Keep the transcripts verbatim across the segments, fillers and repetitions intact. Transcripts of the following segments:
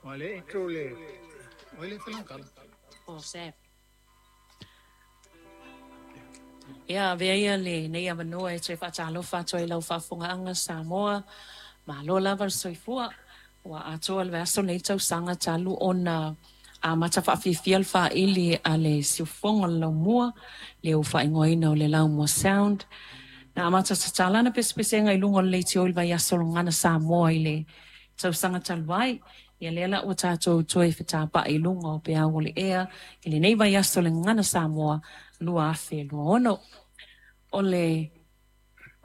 Wale intro le wale felangkala. O Sap. Ia, avea ia lenei avanoa e toe faatalofa atu ai i lau faafofogaaga Samoa. Malo lava le soifua. Ua atoa le vaiaso lenei tausaga talu ona amata faafiafia le faili a le siufofoga o le laumua, le ua faaigoaina o le Laumua Sound. Na amata tatala ana pesepesega i luga o le leitio i le vaiaso o le Gagana Samoa i le tausaga talu ai. Ia lea la ua tatou toe fetapa'i i luga o peau o le ea i lenei vaiaso o le Gagana Samoa lua afe lua ono. O le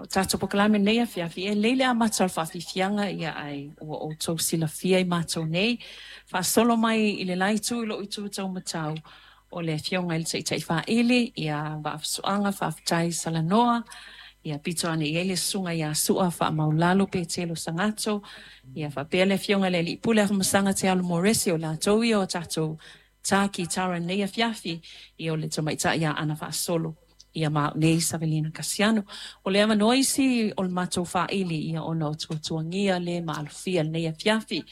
tatou polokalame i lenei afiafi, e lelei le amata o le faafiafiaga, ia ae ua outou silafia i matou nei. Faasolo mai i le la itu i lou itu taumatau, o le afioga i le Taitai Faili, ia Vaafusuaga Faafetai Salanoa, ia pito ane i ai le susuga ia Sua Faamaulalo Petelo Sagato, ia faapea le afioga i le Alii Pule Afamasaga Tealo Moresi, o latou ia o tatou tā kitara i lenei afiafi, ia o le tamaitai ia Ana Faasolo, ia ma au nei Savelina Kasiano. O le avanoa isi o le matou faili ia ona o tuatuagia le maalofia i lenei afiafi.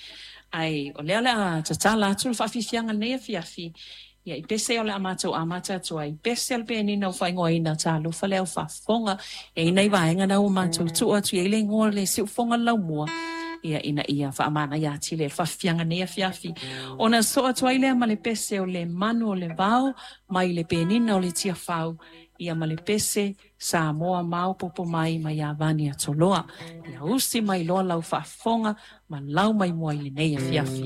Ae o lea o le a tatala atu le faafiafiaga i lenei afiafi, ia i pese o le a matou amata atu ai. Pese o le penina ua faaigoaina Talofa le au faafofoga. E i ai nai vaega na ua matou tuu atu i ai le igoa o le siufofoga o le laumua, ia ina ia faamanaia atili ai le faafiafiaga i lenei afiafi. Ona sosoo atu ai lea ma le pese o le manu o le vao mai le penina o le Tiafau, ia ma le pese Samoa maopoopo mai mai Iavani Atoloa. Ia usi mai loa lau faafofoga ma lau mai mua i lenei afiafi.